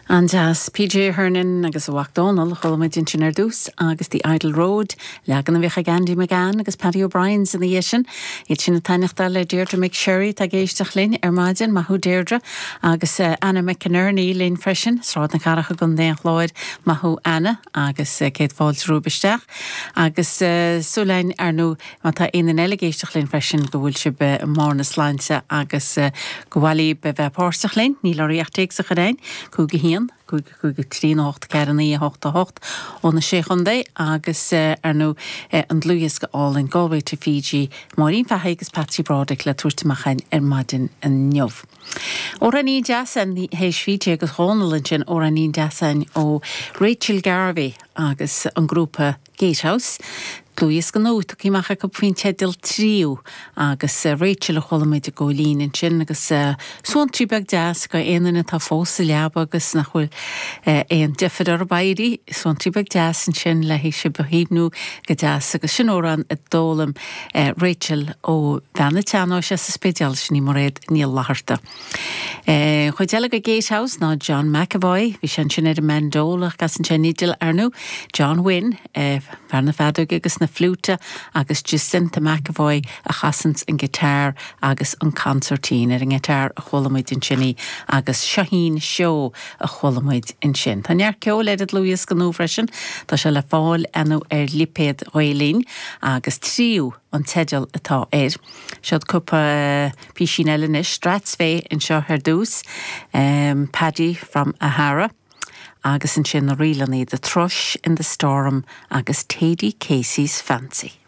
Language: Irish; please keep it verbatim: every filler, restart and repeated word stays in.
An-deas PJ Hernon agus a mhac Dónal chuala muid ansin ar dtús agus The Idle Road leagan a bhíodh ag Andy McGann agus Paddy O'Brien ina dhiaidh sin. Iad sin ag taitneachtáil le Deirdre McSherry tá ag éisteacht linn ar maidin maith thú Deirdre agus uh, Anna McInerney linn freisin, Sráid na Cathrach i gContae an Chláir maith thú Anna agus uh, céad fáilte romhaibh isteach agus uh, súil ar ndóigh má tá aon eile ag éisteacht linn freisin go bhfuil sibh i mbarr na sláinte agus uh, go bhfuil be bheith páirteach linn, níl oraibh ach téacs a chur chugainn, cúig a haon, cúig cúig trí hocht ceathair naoi hocht hocht ó na sé chontae agus ar ndóigh an dlúthdhiosca álainn Galway to Fiji, Máirín Fahey agus Patsy Broderick le tabhairt amach ar maidin inniu. Amhráinín deas théis Fiji agus Dhónal ansin amhráinín deas ó Rachel Garvey agus an grúpa Gatehouse. Dlúthdhiosca nua tugtha amach acu faoin teideal Tríú agus Rachel a chuala muid i gcóilín ansin agus suantraí beag deas go aon duine atá fós sa leaba agus nach bhfuil aon deifir orthu éirí suantraí beag deas ansin le hé si behéimnú go deas agus sin amhrán a d'fhoghlaim Rachel ó bhean an tsean-nóis sa Spidéal sin í Mairéad Ní Fhlatharta. Chuid eile de Gatehouse ná John McAvoy, bhí sin sin ar an mandol agus an sin fidil ar ndóigh, John Wynne fear na feadóige agus na fliúite agus Jacinta McAvoy a chasann an guitar agus an concertina ar an guitar a chuala muid ansin í agus Shaheen Show a chuala muid ansin. Tá neart ceoil ar an dlúthdhiosca nua freisin, Tá sé le fáil anois ar lipéad Ghael-Linn agus Tríú an teideal atá air. Siod cúpla píosín eile anois Strathspey anseo ar dtús, um, Paddy from Ahara. agus ansin na rílanna The Thrush in the Storm agus Thady Casey's Fancy.